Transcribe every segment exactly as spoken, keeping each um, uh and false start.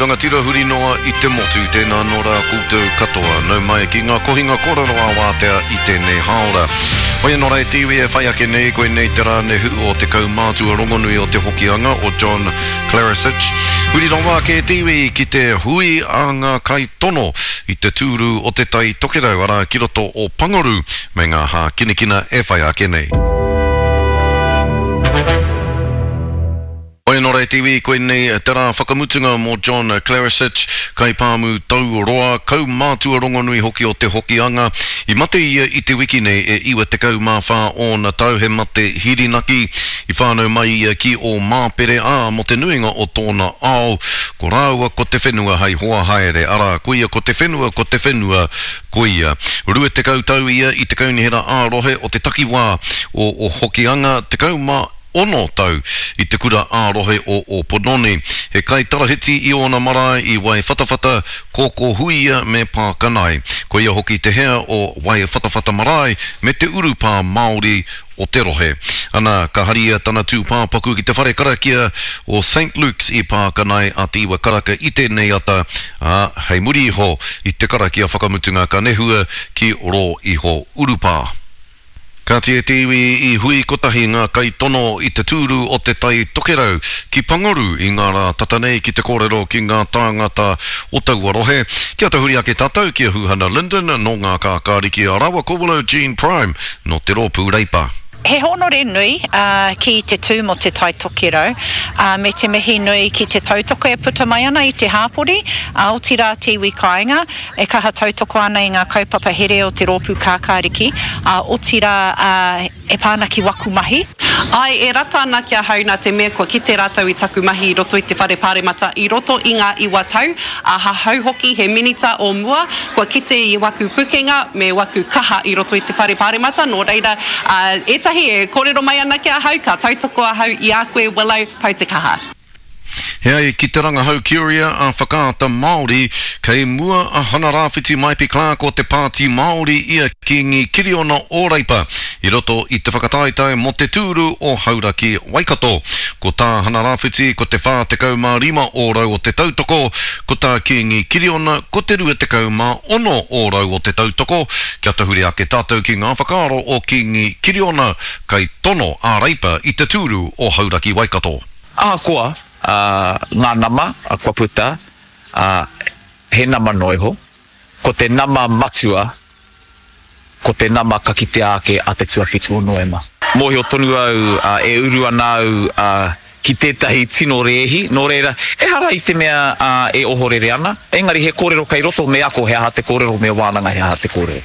rangatira huri noa i te motu, tēnā nō rā koutou katoa. Nau mai ki ngā kohinga kōrero ā-wātea i tēnei hāora. Hoi anō rā e te iwi e whai ake nei, koinei te rā nehu o te kaumātua rongonui o Te Hokianga, o John Klaricich. Huri rawa ake e te iwi ki te hui a ngā kaitono i te tūru o Te Tai Tokerau, arā ki roto o Pangaru me ngā hākinakina e whai ake nei. Hoi anō rā e te iwi, koinei te rā whakamutunga mō John Klaricich, kaipāmu tauroa, kaumātua rongonui hoki o Te Hokianga. I mate ia i te wiki nei e iwa tekau mā whā ōna tau, he mate hirinaki. I whānau mai ia ki Ōmāpere, ā, mō te nuinga o tōna ao, ko rāua ko te whenua hei hoa haere, arā, koia ko te whenua, ko te whenua, koia. Rua tekau tau ia i te kaunihera ā-rohe o te takiwā o Hokianga, tekau mā ono tau i te kura ā-rohe o Ōpononi. He kaitarahiti i ōna marae i Waiwhatawhata, Kōkōhuia me Pākanae. Ko ia hoki te hea o Waiwhatawhata Marae me te urupā Māori o te rohe. Ana, ka haria tana tūpāpaku ki te whare karakia o Saint Luke's i Pākanae a te iwa karaka i tēnei ata, ā, hei muri iho i te karakia whakamutunga ka nehua ki rō iho urupā. Kāti e te iwi i hui kotahi ngā kaitono i te tūru o Te Tai Tokerau ki Pangaru i ngā rā tata nei ki te kōrero ki ngā tāngata o taua rohe. Kia tahuri ake tātou ki a Huhana Lyndon nō Ngā Kākāriki a rāua ko Willow Jean Prime nō te Rōpū Reipa. He hōnore nui ki te tū mō Te Tai Tokerau me te mihi nui ki te tautoko e puta mai ana i te hāpori, otirā te iwi kāinga e kaha tautoko ana i ngā kaupapa here o te Rōpū Kākāriki, otirā e pā ana ki waku mahi. Āe, e rata ana ki ahau nā te mea kua kite rātou i taku mahi i roto i te Whare Pāremata i roto i ngā iwa tau, ahahau hoki he minita o mua, kua kite i waku pukenga me waku kaha i roto i te Whare Pāremata, nō reira, ētahi e kōrero mai ana ki ahau, ka tautoko ahau i a koe Willow, pau te kaha. He ai ki te rangahau Curia a Whakaata Māori, kei mua a Hana-Rāwhiti Maipi Clarke o te Pāti Māori i a Kīngi Kiriona o Reipa i roto i te whakataetae mō te tūru o Hauraki Waikato. Ko tā Hana-Rāwhiti ko te whā tekau mā rima ōrau o te tautoko, ko tā Kīngi Kiriona ko te rua tekau mā ono ōrau o te tautoko. Kia tahuri ake tātou ki ngā whakaaro o Kīngi Kiriona, kaitono a Reipa i te tūru o Hauraki Waikato. Ahakoa ngā nama kua puta, he nama noa iho, ko te nama matua, ko te nama ka kitea ake a te tuawhitu o Noema. Mōhio tonu au e uru ana au ki tētahi tino rēhi, nō reira, ehara i te mea e ohorere ana, engari he kōrero kei roto me ako he aha te kōrero, me wānanga he aha te kōrero.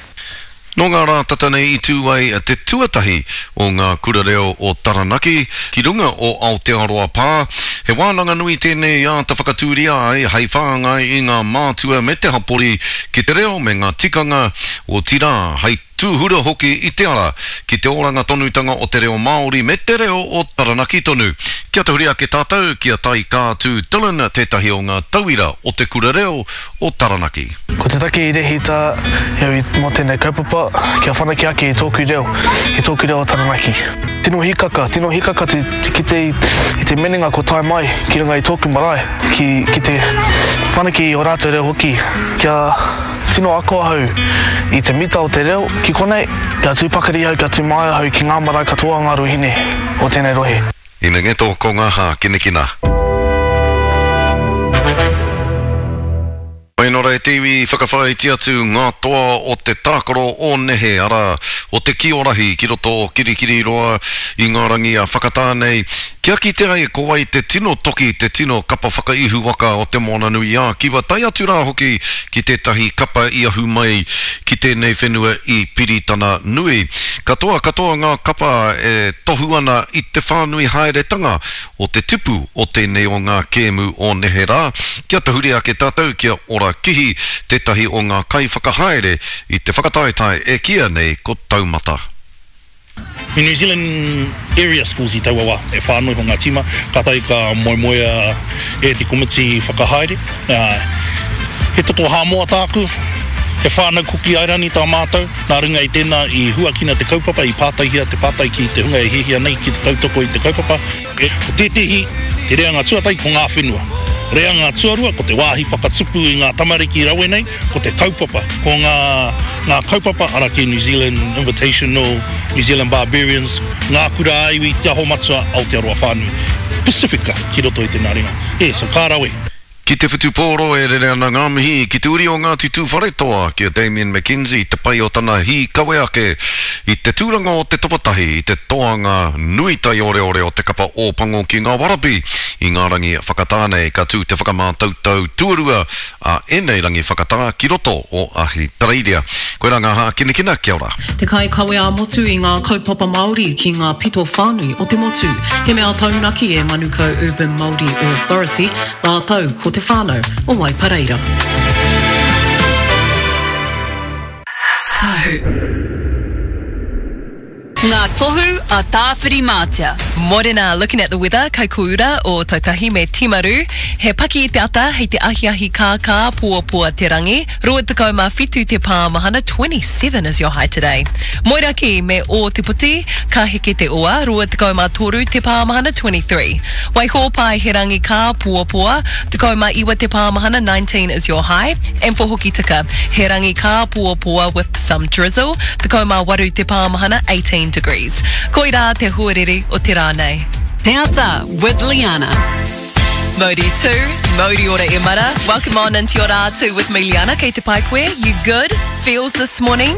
Nō ngā rā tata nei i tū ai te tuatahi o ngā kura reo o Taranaki ki runga o Aotearoa Pā. He wānanga nui tēnei i āta whakatūria ai hei whāngai i ngā mātua me te hapori ki te reo me ngā tikanga, otirā, hei tūhura hoki i te ara ki te oranga tonutanga o te reo Māori me te reo o Taranaki tonu. Kia tahuri ake tātou ki a Taikātū Dillon, tētahi o ngā tauira o te kura reo o Taranaki. Ko te take i rehita au mō tēnei kaupapa, kia whanake ake i tōku reo, i tōku reo o Taranaki. Tino hikaka, tino hikaka te kite i te minenga kua tae mai ki runga i tōku marae, ki, ki te whanake i ō rātou reo hoki, kia tino ako ahau i te mita o te reo ki konei, kia tū pakari ahau, kia tū māia ahau ki ngā marae katoa o ngā ruahine o tēnei rohe. Ina ngeto ko ngā hākinakina. Whainora e te iwi, whakawhāiti atu ngā toa o te tākaro o nehe, arā, o te kiorahi ki roto o Kirikiriroa i ngā rangi a Whakatānei, kia kite ai ko wai te tino toki, te tino kapa whakaihu waka o Te Moananui-a-Kiwa, tae atu rā hoki ki tētahi kapa i ahu mai ki tēnei whenua i Piritana Nui. Katoa, katoa ngā kapa e tohu ana i te whānui haeretanga o te tipu o tēnei o ngā kēmu o neherā. Kia tahuri ake tātou kia ora kihi tētahi o ngā kaiwhakahaere i te whakataetae e kīia nei ko Taumata. I New Zealand Area Schools i taua wā, e whā noa iho ngā tīma, kātahi ka moemoea e te komiti whakahaere. He toto Hāmoa tāku, he whānau Kuki Airani tā mātou, nā runga i tēnā i huakina te kaupapa, i pātaihia te pātai ki te hunga e hiahia nei ki te tautoko i te kaupapa. Ko tētehi, te reanga tuatahi ko ngā whenua. Reanga tuarua, ko te wāhi whakatupu i ngā tamariki rawe nei, ko te kaupapa, ko ngā, ngā kaupapa, ara ki New Zealand Invitational, New Zealand Barbarians, ngā kura ā-iwi, Te Aho Matua, Aotearoa whānui. Pasifika ki roto i te nā ringa. E, so ka rawe. Ki te whutupōro e rere ana ngā mihi ki te uri o Ngāti Tūwharetoa, ki a Damian McKenzie, te pai o tana hīkawe ake i te tūranga o te tapatahi i te toanga nui taioreore o te kapa Ōpango ki ngā Warabi i ngā rangi whakatā nei. Ka tū te whakamātautau tuarua a ēnei rangi whakatā ki roto o Ahitereiria. Koirā ngā hākinakina, kia ora. Te kaikawe ā-motu i ngā kaupapa Māori ki ngā pito whānui o te motu. He mea taunaki e Manukau Urban Māori Authority, rātou ko te whānau o Waipareira. Tahu. Ngā tohu a Tāwhirimātea. Morena, looking at the weather, Kaikōura, Ōtautahi me Timaru. He paki i te ata, hei te ahiahi kākā, poapoa te rangi. Rua tekau mā whitu te pāmahana, twenty-seven is your high today. Moeraki me Ōtepoti, ka heke te ua, rua tekau mā toru te pāmahana, twenty-three. Waihōpai, he rangi kā, poapoa, tekau mā iwa te pāmahana, nineteen is your high. And for Hokitika, he rangi kā, poapoa with some drizzle, tekau mā waru te pāmahana, eighteen degrees. Koirā te huarere o te rā nei. Te Ata with Liana. Mauri two, Mauri ora e mara. Welcome on into your rā two with me, Liana. Kei te pai koe, you good? Feels this morning?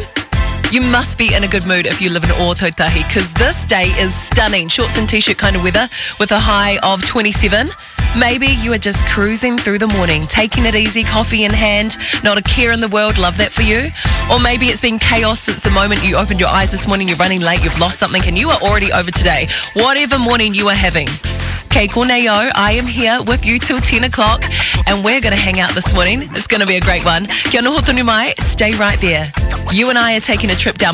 You must be in a good mood if you live in Ōtautahi, 'cause this day is stunning. Shorts and t-shirt kind of weather with a high of twenty-seven. Maybe you are just cruising through the morning, taking it easy, coffee in hand, not a care in the world, love that for you. Or maybe it's been chaos since the moment you opened your eyes this morning, you're running late, you've lost something, and you are already over today. Whatever morning you are having. Kei konei au, I am here with you till ten o'clock, and we're gonna hang out this morning. It's gonna be a great one. Kia noho tonu mai, stay right there. You and I are taking a trip down